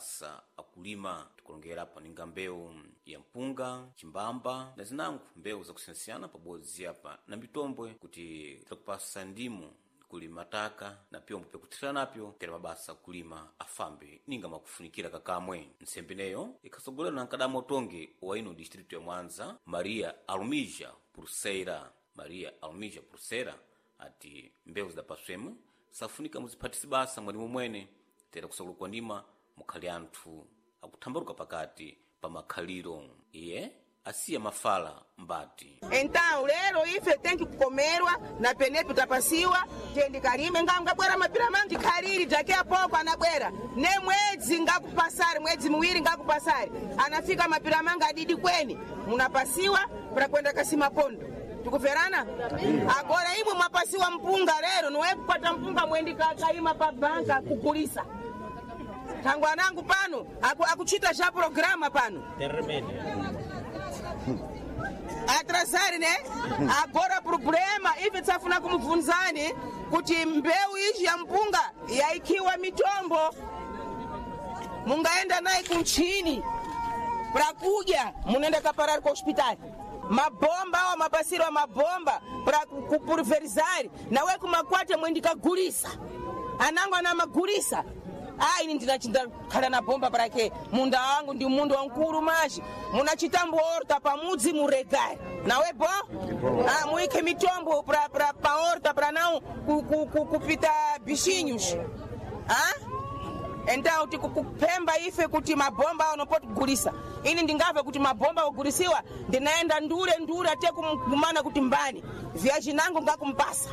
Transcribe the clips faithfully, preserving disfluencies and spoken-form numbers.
mabasa akulima. Tikulongera apa ninga mbewu ya mpunga, chimbamba na zinango mbewu zakusiyanasiyana pabodzi apa na mitombwe kuti tirakupasa ndimu kuli mataka na pyombo pyakuthirira napyo tera mabasa akulima afambe ninga makufunikira kakamwe. Ntsembeneyo ikhasogolerwa na mkadamo utongi wa ino distritu ya Mwanza, Maria Alumija Pulseira. Maria Alumija Pulseira ati mbewu zidapaswemo safunika muziphatisi basa mwalimu mwene tera kusakula kwa ndima mukhali anthu akuthambaluka pakati pa makhaliro. Iye asiya mafala mbati. Então lero ife tenki kukomerwa na penepo tapasiwa tendi kalime nga ngabwera mapira mangi khaliri daki apoko anabwera ne mwedzi ngakupasari mwedzi muwiri ngakupasari anafika mapira mangi adidi kweni munapasiwa para kwenda kasima pondo. Tikuverana agora imwe mwapasiwa mpunga lero niwe kupata mpunga mwendi kakaima pa banka kukulisa tangu anangu pano aku, akuchita cha programa pano atrasari ne agora problema ife tsafuna kumubvunzani kuti mbeu izhi ya mpunga yaikiwa mitombo mungaenda naye kunchini prakudya munoenda kaparari ku hospitali mabomba awa mapasiro a mabomba pra kupulverizari nawe kumakwate mwendikagulisa anango ana magulisa ah ini ndinachindakhala na bomba parake munda wangu ndi mundu wankulu maji munachita horta pamudzi muregari nawe bo ah, muike mitombo pra, pra, pa horta pra não ku, ku, ku, kupita bichinhos ah? Então tikukupemba ife kuti mabomba awo nopotugulisa ini ndingava kuti mabomba ogulisiwa ndinaenda ndule ndule ate kumana kuti mbani vyachinango ngakumpasa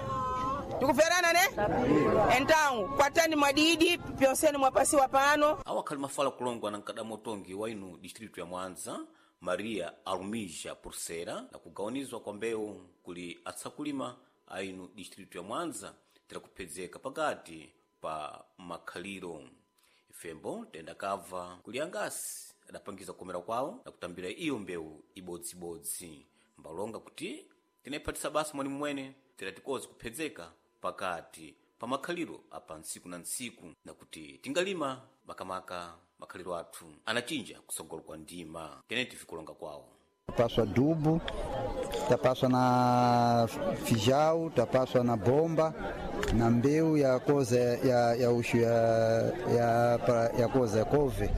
tikuverana ne então kwatani mwadidi pyonseni mwapasiwa pano awo akhali mafala kulongwa na mkadamo utongi wa ino distritu ya Mwanza, Maria Alumija Pulseira, na kugawanizwa kwa mbewu kuli atsakulima a ino distritu ya Mwanza tirakuphedzeka pakati pa makhaliro. Ifembo tendakabva kuli angasi adapangiza kukomera kwawo na kutambira iyo mbewu ibodzibodzi mbalonga kuti tinayiphatisa basa mwalimu mwene tera tikozi kuphedzeka pakati pa makhaliro apa ntsiku na ntsiku na kuti tingalima makamaka makhaliro athu anachinja kusogolo kwa ndima tene tifikulonga kwawo. Tapaswa dubu, tapaswa na fijau, tapaswa na bomba na mbeu ya koza ya, ya ushu ya, ya, pra- ya koza ya kove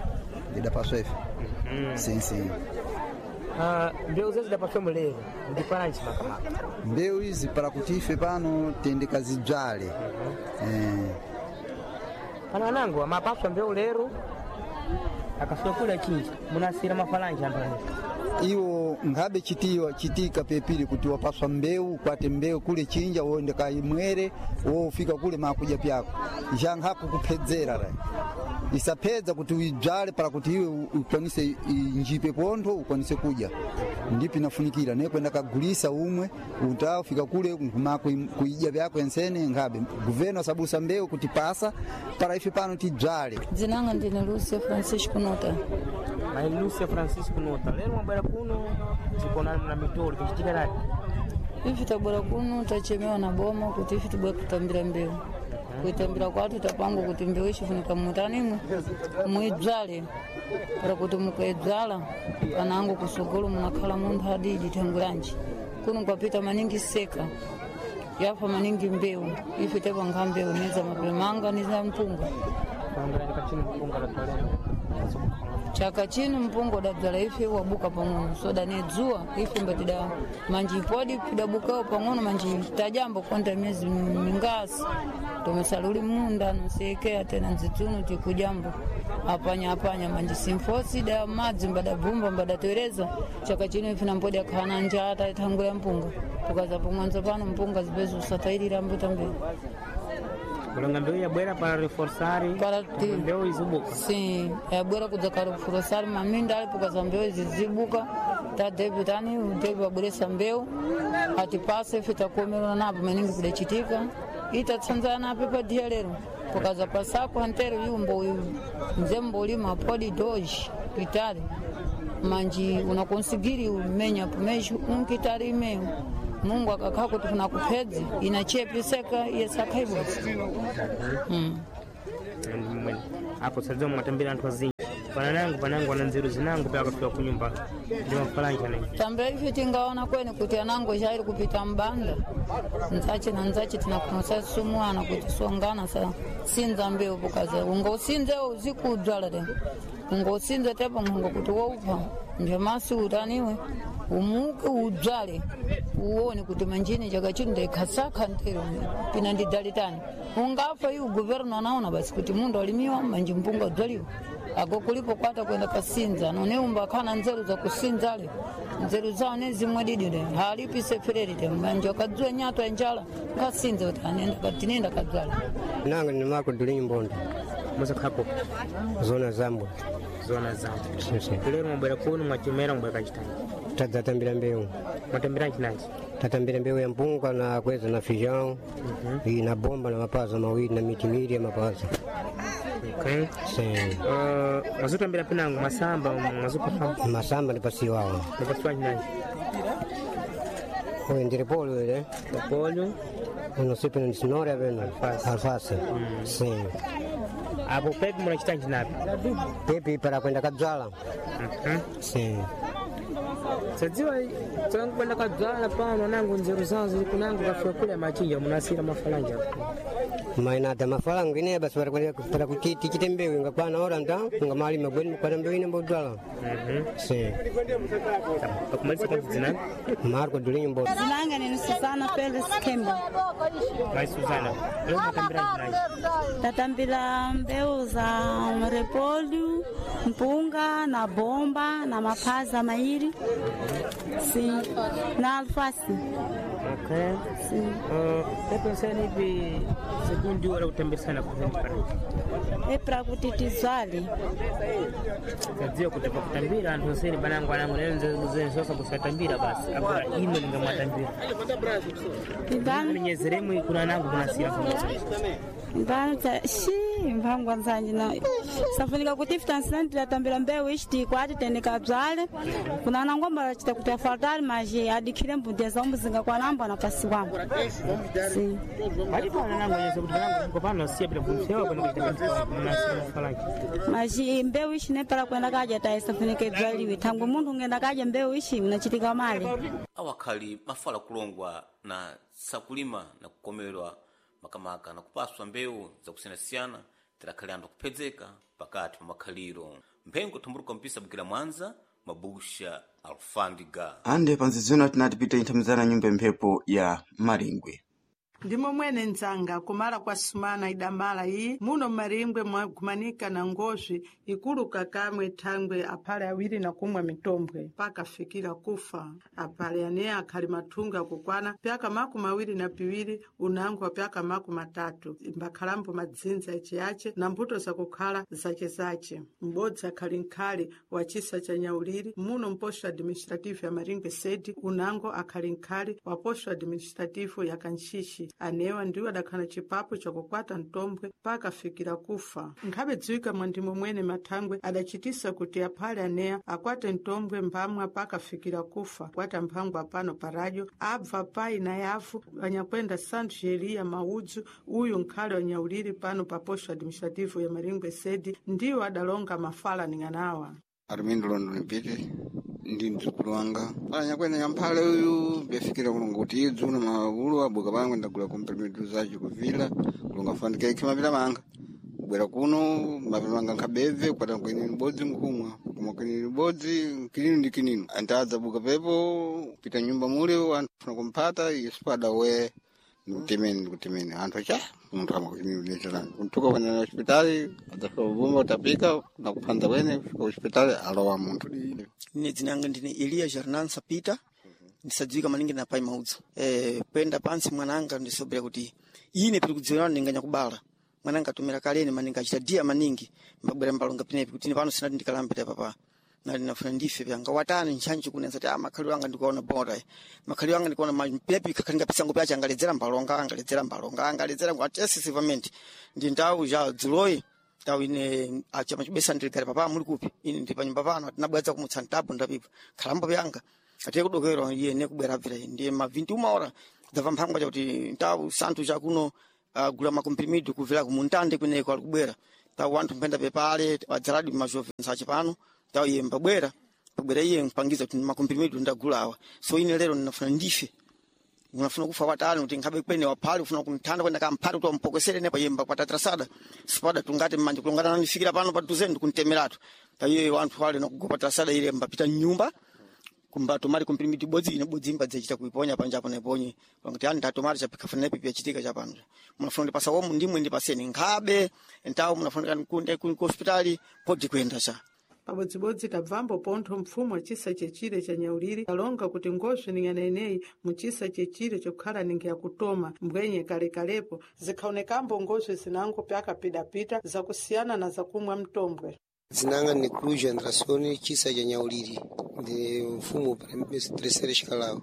idapaswa ife. mm -hmm. Sim, sim. Ah, mbeu zezi zidapaswa mulero ndiparanji makamaka Mbeu izi para kuti ife pano tende kazidzale. mm -hmm. eh, pano anango amapaswa mbeu lero akafika kule chinja munasira mafalanji anthu ane iwo nkhabe chitiwa chitika pepili kuti wapaswa mbeu ukwate mbeu kule chinja woende kaimwere wofika kule makuja pyako njankhaku kuphedzera ra isaphedza kuti uidzale para kuti iwe u- ukwanise i- njipe pontho ukwanise kudya ndipo inafunikira ne kwenda kagulisa umwe utafika kule nkuma kuidya vyako ensene nkhabe guveno asabusa mbeu kuti pasa para ife pano tidzale. Dzinanga ndine Lúcia Francisco Nota. Mai Lúcia Francisco Nota lero mwabwera kuno tikonana na mitolo tichitika lati Ife tabwera kuno tachemewa na boma kuti ife tibwe kutambira mbeu. Kuitambira kwatu tapangwa kuti mbeu ichifunika mutanimwe muidzale para kuti mukaidzala panango kusogolo munakhala munthu adidi thangulanji kuno kwapita maningi seka yafa maningi mbeu ife tapanga mbeu niza mapemanga niza mpunga. kuongera chaka chino mpunga latolero Chaka chino mpunga udabzala ife wabuka pang'ono soda ni dzuwa ife mbatida manji podi pidabukawo pang'ono manji tajambo konta miezi mingasi tomesaluli munda nosekea tena nzitsuno tikujambo apanya apanya manji simfosi da madzi mbadabvumba mbadatereza. Chaka chino ife nampodi akhana njala taithanguya mpunga tukaza pomwanzo pano mpunga zipezo usatairira mbutambeu kulonga mbeu yabwera para reforçar Para ti- mbeu izibuka. Sim, yabwera kudza kare maminda ali pokaza mbeu izi zibuka tadebi tani debi wabweresa mbeu atipase ife takuomerana napo maningi kudachitika itatsanzana napo padia lero pokaza pasako antero yumbo uyu mzembo ulima podi doji kitari manji unakonsigiri umenya pomesho unkitari imeyo Mungu akakhaa kuti kuna kuphedzi inachepiseka yesakhaibodzi mm. Mwene. Apo sadzoma mwatambira anthu azinji. Pananangu panangu ana nzeru zinangu pya akafika kunyumba ndi mafalanji anangi. Tambira ife tingaona kweni kuti anango shairi kupita mbanda nzache na nzache tinakunosa sumuana kuti songana sa sinza mbeu pokaza ungosinze uzikudzwala te ungosinze tepo ngongo kuti woupa njemasi utaniwe umuke udzwale uone kuti manjini chaka chino ndaikhasakha ntero pina ndidalitani ungafa iwu guverno anaona basi kuti mundu alimiwa manji mpunga udzwaliwa ako kulipo kwata kwenda kasinza noneumba akhana nzeru za kusinzale nzeru zawo nezimwe didile halipise fererite manje akadzwa nyato ya njala kasinza kuti anenda tinenda kadzwala Nanga ni Marco Dulinho Mbondo, Musakhapo zona Zambwe. zona zangu. Sim, sim. Lero mwabwera kuno mwachomera mwabwera kachitani. Tadzatambira mbeu. Mwatambira nchinanji. Tatambira mbeu ya mpunga na kweza na feijão, e na bomba na mapaza mawili na miti miwili ya mapaza. Okay. Sim. Uh, mwazotambira pinangu masamba mwazopafamu Masamba ndipasiwawo. mwapasiwa nchinanji. Oyo ndiri polo ile. Polho Uno sipe ni sinora veno. Alfasi. Sim. apo pepi munachita nchinapi. Pepi para kwenda kadzwala. Mhm. Sim. Sadziwa tsangu kwenda kadzwala pano nangu nzeru zawo zili kunangu kafika kule machinja munasira mafalanja. Mainata mafalangu ine basi para kwenda para kuchiti chite mbeu ingakwana ora nta ngamalima gweni kwa mbeu ine mbodwala. Mhm. Sim. Pakumalisa kwa dzina Marco Dulinho Mbondo. Zinanga ni Susana Felix Kemba. Mai Suzana. Lero mwatambira nchinanji. Tatambila mbeu za repolho, mpunga na bomba na mapaza mairi. Sim. Na alface. Okay. Sim. Uh, pepe nsani ipi segundi wala kutambisana kuzeni É pra kuti tizwale. Sadziwa kuti pakutambira anthu nseni banangu anangu lero nzeru sosa kusatambira basi agora ino lingamwatambira. Ibana Nyezeremu kuna nangu kunasira ibana ta shi mphangwa nzanji na safunika kuti ifutansina tilatambira mbeu ichi tikwati tendeka bzale kuna nangomba lachita kuti afadhali maji adikhile mbudya za umbuzinga kwa namba na pasi wambo. Sim. Palipo anangu nyeze kuti banangu kopano siya bila kumsewa kwenda kuchita munasira mafalanji. Maji mbeu ichi nepala kwenda kaja taisafunike bzaliwe thangwe munthu ungenda kaja mbeu ichi unachitika mali. Awakhali mafala kulongwa na sakulima na kukomerwa makamaka na kupaswa mbewu zakusiyanasiyana tilakhali anthu akuphedzeka pakati pa makhaliro mphengo thumbuluka mpisa bukira mwanza mabusha alfandiga Ande panzizino tinatipita inthamizana nyumba mphepo ya Maringwe. Ndimo mwene nzanga kumala kwa sumana idamala iyi muno mmaringwe mwagumanika na ngozwi ikuluka kamwe thangwe aphale awiri na kumwa mitombwe paka fikira kufa aphale ane akhali mathunga akukwana pyaka makumi awiri na piwiri unango wa pyaka makumi atatu mbakhalambo madzinza aciace na mbuto zakukhala zacezace m'bodzi akhali nkhali wa chisa cha nyauliri muno mposto administrativo ya maringwe sedi unango akhali nkhali wa posto administrativo ya kantchixi anewa ndiwo adakhala chipapo chakukwata mtombwe paka fikira kufa nkhabe dziwika mwandimo mwene mathangwe adachitisa kuti aphale aneya akwate mtombwe mbamwa paka fikira kufa kwata mphangwa pano pa radio abva pai na yavu anyakwenda santo eliya maudzu uyu nkhale wanyauliri pano pa posto administrativo ya maringwe sedi ndiwo adalonga mafala ning'anawa Armindo London Mpite ndi mdzukulu wanga anyakwena nyamphale uyu byafikira kulonga kuti idzu na magulu abuka pangwe ndagula komprimidu zace kuvila kulonga fanika ikhe mapita manga kubwera kuno mapita manga nkhabebve kukwata nkwinini bodzi nkhumwa kumwa kwinini bodzi kininu ndi kininu antadza buka pepo pita nyumba mule anthu funa kumphata yesu we ndikutemeni ndikutemeni anthu acha munthu amakuchimilecherani kuntuka kwenda na hospitali adzafika kubumba utapika nakuphanza kwene kufika hospitali alowa munthu Ine dzina yanga ndine Eliya Jarnan Sapita ndisadziwika maningi na pai maudzu eh kwenda pansi mwananga ndisobera kuti ine pili kudziona ndinganya kubala mwananga atumira kaleni maningi achita dia maningi mbabwera mbalonga pinepi kuti ine pano sinati ndikalambira papa nali nafuna ndife pyanga watani ntchantchi kunenza kuti ah makhalidwe anga ndikuona bora makhalidwe anga ndikuona ma pinepi kakhalinga pisango pyace angaledzera mbalonga angaledzera mbalonga angaledzera ngwatesisivamenti ndi ndawu ja dzuloyi tawu ine achama chibesa ndiligale papa muli kupi ine ndi panyumba pano atinabwadza kumutsa ntapo ndapipa khalambo pyanga atiye kudokera iye ne kubwera abvera ndiye ma vinti uma hora dzabva mphangwa chakuti ntawu santhu chakuno uh, gula makomprimido kubvera kumuntande kweneko ali kubwera Tawo wanthu mpenda pepale wadzaladi majovensa achi pano tawo iye mbabwera mbabwera iye mpangiza kuti makomprimido ndagulawa so ine lero ndinafuna ndife unafuna kufa watani kuti nkhabe kwene waphale ufuna kunthanda kwenda kamphale kuti wampokesere nepa yemba kwatatrasada sipada tungati mmanja kulongana nanifikira pano paduze ndikuntemeratu paiye wanthu wale nakugopa trasada ile mbapita mnyumba kumba tomari komprimidi bodzi ine bodzi mbadzachita kuiponya panjapo naiponye kuti ani ndatomari chapikafuna nepi pyachitika chapano munafuna ndipasa womu ndimwe ndipaseni nkhabe ntawo munafuna kunde ku hospitali podi kuenda cha Pabodzibodzi tabvambo pontho mpfumo chisa chechire cha Nyauliri alonga kuti ngoswe ning'ana ineyi muchisa chechire chokhala ningi yakutoma mbwenye kalekalepo zikhaonekambo ngoswe zinango pyakapidapita zakusiyana na zakumwa mtombwe. Dzinanga ni Cruz Andrasoni chisa cha Nyauliri ndi mfumu terceira escalão.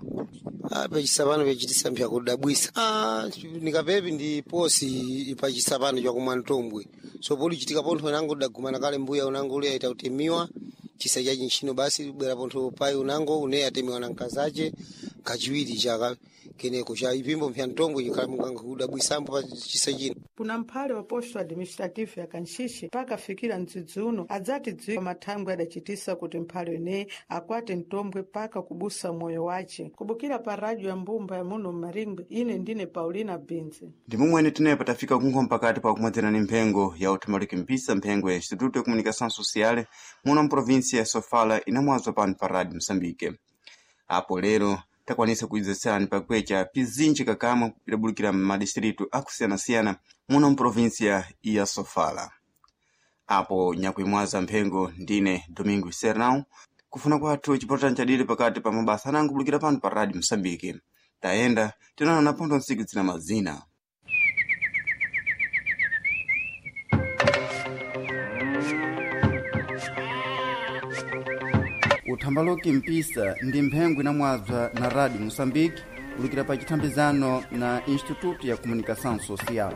Ah, pachisapano pachitisa mphyakudabwisa. Ah, nikapepi ndi posi pachisapano chakumwa mtombwe. So poli chitika pontho unango dagumana kale mbuya unango ule aita kutemiwa chisa chachi ntchino basi bwera pontho pai unango une atemiwa na mkazache kachiwiri chaka keneko cha ipimbo mpya mtombwe chikhala pa chisa chino. Kuna mphale wa posto administrative ya Kanxixi pakafikira mdzidzi uno adzati dziwa mathangwe adachitisa kuti mphale ineyi akwate mtombwe paka kubusa moyo wace. Kubukira pa radio ya mbumba ya muno mmaringwe ine ndine Paulina Binzi. Ndi momwene tinepo tafika kunkhoma pakati pa kumwedzera ni mphengo ya uthambaliki mpisa mphengo ya Instituto de Comunicação Social muno mprovinsia ya Sofala inamwazwa pano pa Rádio Moçambique. Apo lero takwanisa kuidzetserani pakwecha pizinji kakamwe pidabulukira m'madistritu akusiyanasiyana muno mprovinsia ya Sofala. Apo nyakuimwaza mphengo ndine Domingo Sernão kufuna kwathu chipotani chadili pakati pa mabasa anango bulukira pano pa Rádio Moçambique. Tayenda tinaona na pontho ntsiku zina mazina. Uthambaloki mpisa ndi mphengo inamwazwa na Rádio Moçambique kulukira pa chithambizano na Instituto ya Comunicação Social.